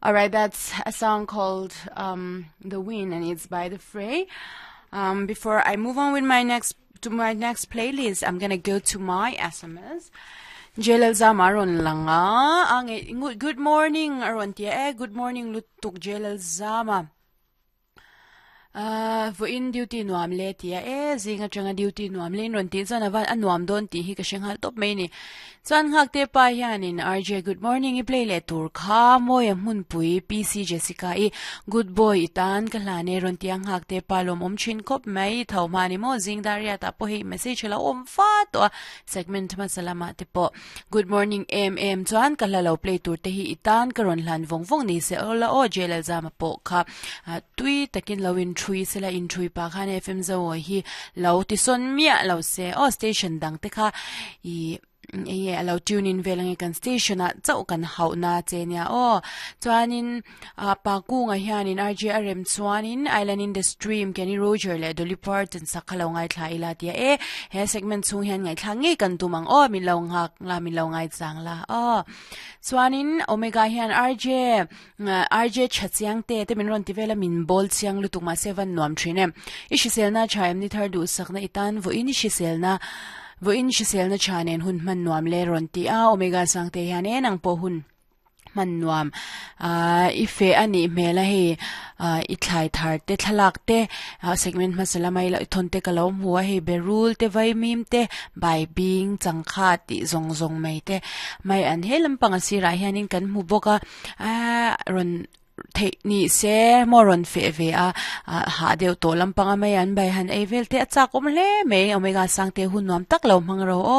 Alright, that's a song called um, The Wind and it's by The Fray. Um, before I move on with my next to my next playlist, I'm gonna go to my SMS. Jelal Zama rawn lang a, a good morning a rawn tia e, good morning lutuk Jelal Zama. Ahh vawiin duty nuam le tia e zing atanga duty nuam le in rawn tih chuan a van a nuam dawn tih hi ka hre nghal tawp mai a ni. Chuan nghakte pa hianin RJ good morning i play leh tur kha mawi a hmunpui PC Jessica i good boy i tan ka hlan e rawn tia nghakte pa lawmawm thin khawp mai i tho hma ni maw zing dar riat ah pawh hei message a lo awm fa tawh a segment hmasa lamah te pawh Good morning em em chuan ka hla lo play tur te hi i tan ka rawn hlan vawng vawng ni se aw la aw Jalelzama pawh kha tui takin lo in thui sela in thui pah khan FM Zoawi hi lo ti sawn miah lo se aw station dang te kha ih enge a lo tune in vel ange kan station ah chauh kan hauh na che nia aw chuanin Ah pa kunga hianin RJ a rem chuanin Island in the Stream Kenny Roger leh Dolly Parton sak kha lo ngaithla ila tia e he segment chhung hian ngaithla ngei kan tum ang aw min lo nghak la min lo ngai chang la aw chuanin Omega hian RJ RJ tha chiang te te min rawn ti vel a min bawl chiang lutuk mahse van nuam thin em i hriselna tha em ni thar duhsakna i tan vawiin i hriselna vawiin hriselna tha nen hun hman nuam le rawn ti a Omega Sangte hian e nang pawh hun hman nuam ahh i feh a nih hmel a hei ahh i thlai thar te thlalak te ah segment hmasa lama i thawn te ka lo hmu a hei berul te vaimim te baibing changkha tih zawng zawng mai te mai an he lampang a sirah hianin kan hmu bawk a ahh rawn theih ni se maw rawn feh ve a ah hah deuh tawh lampanga mai an bai han ei vel te a chak awm hle mai omega sangte hun nuam tak lo hmang ro aw.